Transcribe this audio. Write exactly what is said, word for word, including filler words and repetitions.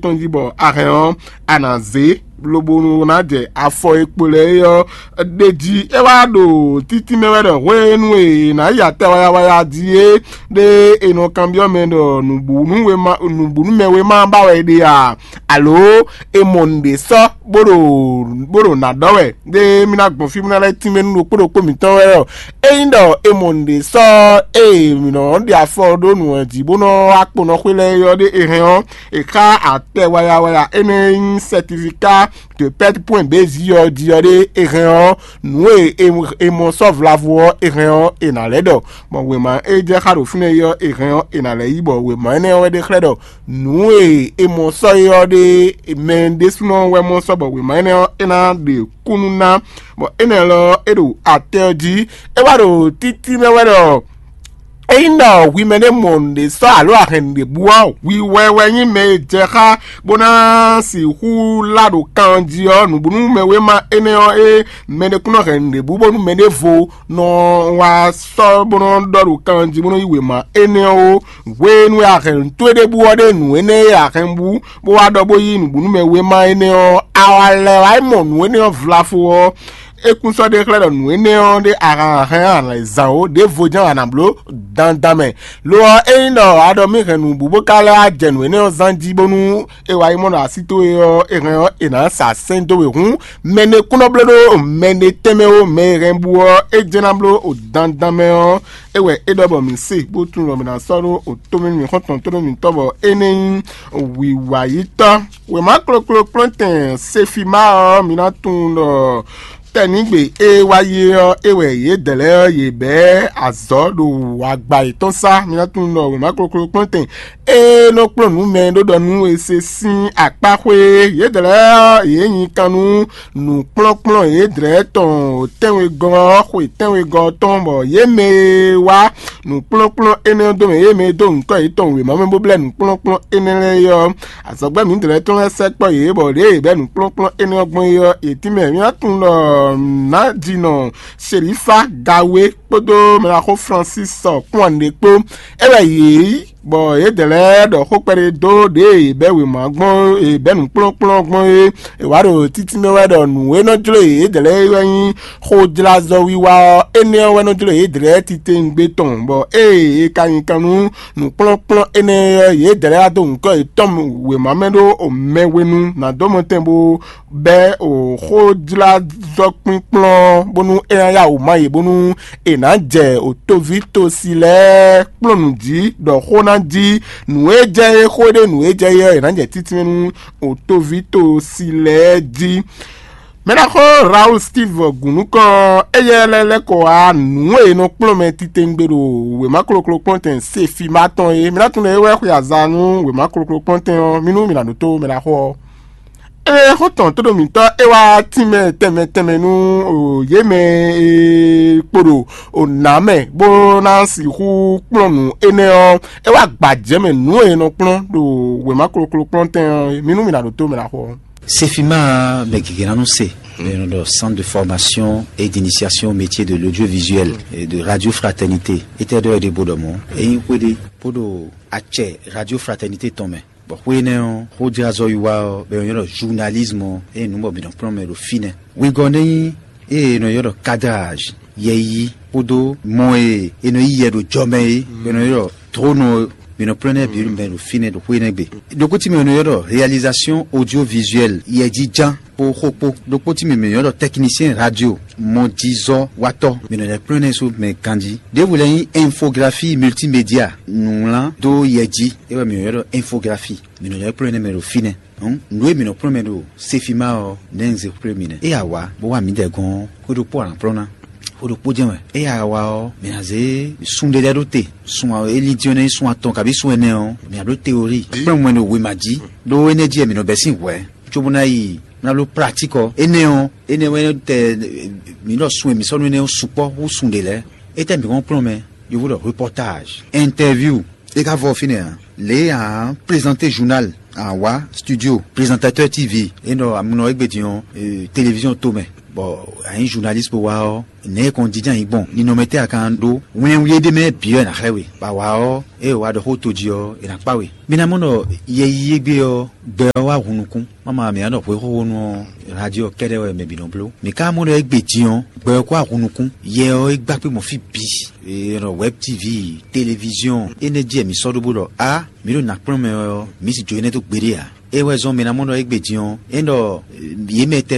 tɔn jí bɔ a hɛn ɔ́, a nǎ zé lobo ná jɛ afɔ e kpo lɛ́ɛ é ɔ́ ɖ'é jí. É wá ɖo títí mɛ wɛ ɖɔ hwenu e è nǎ yi atɛ wayawaya jí é, ɖé è nɔ kanbyɔ́ mɛ ɖɔ nǔbǔnú wema nǔbǔnú mɛ wema ba wɛ è ɖe a? Alo è mɔ nǔɖé sɔ́ bó ɖo bó ɖo nǎ ɖɔ wɛ? Ɖé mì ná gbɔn fí bó ná lɛ́ tínmɛ nú ɖokpó ɖokpó mǐtɔn wɛ ɔ́, ényí ɖɔ è mɔ nǔɖé sɔ́ ée mǐ nɔ ɖe afɔ ɖó nǔ ɔ́ jí bó nɔ wá kponɔ xwé lɛ́ɛ é ɔ́ ɖé è hɛn ɔ́, è xá atɛ wayawaya énɛ́ e nyí sɛtifiká de pɛ́t pwɛn bězí ɔ́ jí ɔ́ ɖé è hɛn ɔ́, nǔ e è mɔ sɔ́ vlavo ɔ́ è hɛn ɔ́, è nǎ lɛ́ ɖɔ. Bɔ wěma e jɛ xá ɖo fínɛ́ é ɔ́ è hɛn ɔ́, è nǎ lɛ́ yí, bɔ wěma énɛ́ ɔ́ wɛ ɖe xlɛ́ ɖɔ nǔ e è mɔ sɔ́ é ɔ́ ɖé mɛ ɖésúnɔ wɛ mɔ sɔ́, bɔ wěma énɛ́ ɔ́ é ná ɖe kúnnu ná. Bɔ énɛ́ lɔ é ɖo atɛ ɔ́ jí, é wá ɖo títí mɛ wɛ ɖɔ ényí ɖɔ hwi mɛ ɖé mɔ nǔɖé sɔ́ alo a hɛn nǔɖé bú ɔ́, hwi wɛ wɛ nyí mɛ e jɛ xá bó ná sixú lá ɖo kan jí ɔ́, nǔbúnú mɛ wéma énɛ́ ɔ́, é mɛ ɖé kún nɔ hɛn nǔɖé bú bónú mɛ ɖěvo nɔ wá sɔ́ bó nɔ ɖɔ ɖo kan jí bó nɔ yí wěma énɛ́ ɔ́ ó. Hwenu e a hɛn nǔ towe ɖé bú ɔ́ ɖe nǔ énɛ́ e a hɛn bú bó wá ɖɔ bó yí nǔbúnú mɛ wéma énɛ́ ɔ́, a wá lɛ́ wá yi mɔ nǔ énɛ́ ɔ́ vlafo ɔ́, é kún sɔ́ ɖe xlɛ́ ɖɔ nǔ énɛ́ ɔ́ ɖé a hɛn a nǎ zán ó, ɖěvo jɛ́n a nǎ bló dandan mɛ. Lo ɔ́, ényí ɖɔ a ɖɔ mì hɛn nǔ bú bó ka lɛ́ wá jɛ nǔ énɛ́ ɔ́ zán jí bónú è wá yi mɔ ɖɔ así towe ɔ́, è hɛn ɔ́, è nǎ sa sɛ́n dó we hǔn, mɛ ɖé kún nɔ bló ɖó mɛ ɖé tɛnmɛ ó, mɛ e hɛn bú ɔ́, é jɛ́n ná bló o dandan mɛ ɔ́, é wɛ é ɖɔ bɔ mǐ se bó tunwun ɖɔ mǐ ná sɔ́ ɖó o tómɛ mǐ xɔ́ntɔn tónú mǐtɔn bɔ é nɛ́ nyí wǐwayítɔ́. Wěma kloklo kplɔ́ntɛn Sefima ɔ́, mi ná tunwun ɖɔ tɛnǐgbe e wá yi é ɔ́, é wɛ yědɛɛ lɛ́ɛ ɔ́, yě bɛ́ azɔ̌ ɖo agba yětɔn sá. Mi ná tunwun ɖɔ wěma kloklo kplɔ́ntɛn e nɔ kplɔ́n nǔ mɛ ɖó ɖɔ nú è se sín akpáxwé. Yědɛɛ lɛ́ɛ ɔ́, yě nyi kan nú nǔkplɔ́nkplɔ́n yědɛɛ tɔn tɛ́nwegɔ́ ɔ́, xwe tɛ́nwegɔ́ ɔ́ tɔn, bɔ yě mɛ e wá nǔkplɔ́nkplɔ́n énɛ́ ɔ́ dó mɛ, yě mɛ e dó nyǐkɔ yětɔn wěma mɛ bó blɛ́ nǔkplɔ́nkplɔ́n énɛ́ lɛ́ɛ é ɔ́, azɔ̌gbɛ́ mǐdɛɛ lɛ́ɛ tɔn lɛ́ɛ sɛkpɔ́ yě, bɔ ɖěe yě bɛ́ nǔkplɔ́nkplɔ́n énɛ́ ɔ́ gbɔn é ɔ́, yě tínmɛ mì nǎ tunwun ɖɔ nǎjinɔ Selifa Gawe kpódó mɛɖaxó Francis kpɔ́n ɖě kpó. É wɛ yě yí, bɔ yědɛɛ lɛ́ɛ ɖɔ xó kpɛɖé dó ɖěe yě bɛ́ wěma gbɔn, yě bɛ́ nǔkplɔ́nkplɔ́n gbɔn é. È wǎ ɖo títí mɛ wɛ ɖɔ nǔ e nɔ jló yědɛɛ lɛ́ɛ é wɛ nyí xojlázɔ́wiwa ɔ́, énɛ́ ɔ́ wɛ nɔ jló yědɛɛ lɛ́ɛ titewungbe tɔn, bɔ ée è ka nyi kan nú nǔkplɔ́nkplɔ́n énɛ́ ɔ́, yědɛɛ lɛ́ɛ wá dó nyǐkɔ yětɔn wěma mɛ ɖó mɛ hwenu ná dó mɔtɛn bó bɛ́ o xójlázɔ́kpínkplɔ́n bónú é ná yá wǔ má yě bónú è nǎ jɛ o toví tosi lɛ́ɛ kplɔ́n nǔ jí, ɖɔ xó ná jí nǔ e jɛ é xó ɖé nǔ e jɛ é ɔ́, è nǎ jɛ títí nú o toví tosi lɛ́ɛ jí. Mɛɖaxó Raoul Steve Gǔnúkɔn, éyɛ́ lɛ́ lɛ́ kɔ wá nǔ e è nɔ kplɔ́n mɛ titewungbe ɖo wěma kloklo kpɔ́ntɛn Sefima tɔn é. Mi ná tunwun ɖɔ é wɛ xwe aza nú wěma kloklo kpɔ́ntɛn ɔ́, mi nú mi ná ɖótó mɛɖaxó ɔ́. Ée xó tɔn tóɖo mǐtɔn é wá tínmɛ tɛnmɛ tɛnmɛ nú yě mɛ e kpo ɖo nǎ mɛ bó ná sixú kplɔ́n nǔ énɛ́ ɔ́, é wá gbajɛ mɛ nǔ e è nɔ kplɔ́n ɖo wěma kloklo kplɔ́ntɛn ɔ́, mi nú mi ná ɖótó mɛɖaxó ɔ́. Sefima, mɛ gěgé ná nɔ se, eno ɖɔ Centre de Formation et d'Initiation au Métier de l'Audiovisuel et de Radio Fraternité. Étɛ́ ɖɔ é ɖe bó ɖɔ mɔ̌? Ényí xwéɖé bó ɖo acɛ Radio Fraternité tɔn mɛ, bɔ xwé énɛ́ ɔ́, xójlázɔ́wiwa ɔ́, bɔ è nɔ ylɔ́ ɖɔ journalisme ɔ́, ényí nǔ bɔ mǐ nɔ kplɔ́n mɛ ɖo fínɛ́. Wegɔ́ ɖé nyí ée è nɔ ylɔ́ ɖɔ cadrage, yɛyi kpódó mɔ e è nɔ yí yɛ ɖo jɔ mɛ é, bɔ è nɔ ylɔ́ ɖɔ dronɔ ɔ́, mǐ nɔ kplɔ́n nɛ́ bǐ mɛ ɖo fínɛ́ ɖo xwé énɛ́ gbe. Ɖokpó tínmɛ è nɔ ylɔ́ ɖɔ réalisation audiovisuelle, yɛjiján kpó xó kpó. Ɖokpó tínmɛ mǐ nɔ ylɔ́ ɖɔ technicien radio, mɔjizɔ́watɔ́, mǐ nɔ lɛ́ kplɔ́n nɛ́ sú mɛ ganjí. Ɖěvo lɛ́ɛ nyí infographie multimédia, nǔwlán dó yɛ jí, é wɛ mǐ nɔ ylɔ́ ɖɔ infographie. Mǐ nɔ lɛ́ kplɔ́n nɛ́ mɛ ɖo fínɛ́. Hǔn, nǔ e mǐ nɔ kplɔ́n mɛ ɖo Sefima ɔ́, nɛ̌ un zé xwlé mi nɛ́? É ya wǎ bó wá mǐdɛɛ gɔ́n xwé ɖokpó alǎnplɔ́ ná. Xwé ɖokpó jɛ́n wɛ. É ya wá ɔ́, mǐ ná zé sun ɖé lɛ́ɛ ɖó te. Sun e lin dín ɔ́, nɛ́ nyí sun atɔn kabí sun ɛnɛ ɔ́, mǐ ná bló teorí. Kplɔ́n mɛ ɖo wěma jí, ɖó énɛ́ jí wɛ mǐ nɔ bɛ́ sín hwɛ̌, cóbó ná yi ná bló pratík ɔ́. Énɛ́ ɔ́, énɛ́ wɛ tɛ mǐ ɖɔ sun e mǐ sɔ́ nú énɛ́ ɔ́ sukpɔ́ hú sun ɖě lɛ́ɛ. Étɛ́ mǐ hɔn kplɔ́n mɛ? Yovo ɖɔ reportage, interview. É ka vɔ fínɛ́ ǎ. Lě e a nǎ prézanté journal, a nǎ wá studio, prézantatɛ́ T V, é nɔ amúnɔ égbé din ɔ́, téléviziɔn tomɛ. Bɔ a nyí journaliste bó wá ɔ́, nɛ̌ e kɔn jínjɔ́n ayǐ gbɔn? Ninɔmɛ tɛ́ a ka ɖó? Wlɛnwlí e ɖ'é mɛ bǐ wɛ è nǎ xlɛ́ we. Bɔ a wǎ ɔ́, ée wǎ ɖɔ xó tojí ɔ́, è nǎ kpá we. Mi ná mɔ ɖɔ yɛ yíyí égbé ɔ́, gbɛ ɔ́ wá hun nukún. Máma mǐ ná ɖɔ hwexóxónú ɔ́, radio ɔ́ kɛ́ɖɛ́ wɛ mɛ bǐ nɔ bló. Mǐ ka mɔ ɖɔ égbé din ɔ́, gbɛ ɔ́ kó wá hun nukún. Yɛ ɔ́, é gbá kpé gbɔn fí bǐ. È nɔ wɛb T V, televiziɔn, énɛ́ jí wɛ mǐ sɔ́ ɖó bó ɖɔ á, mǐ ɖo nǎ kplɔ́n mɛ ɔ́, mǐ sì jó énɛ́ dó gbeɖé ǎ. É wɛ zɔ́n mǐ ná mɔ ɖɔ égbé din ɔ́, é ɖɔ yě mɛ tɛ́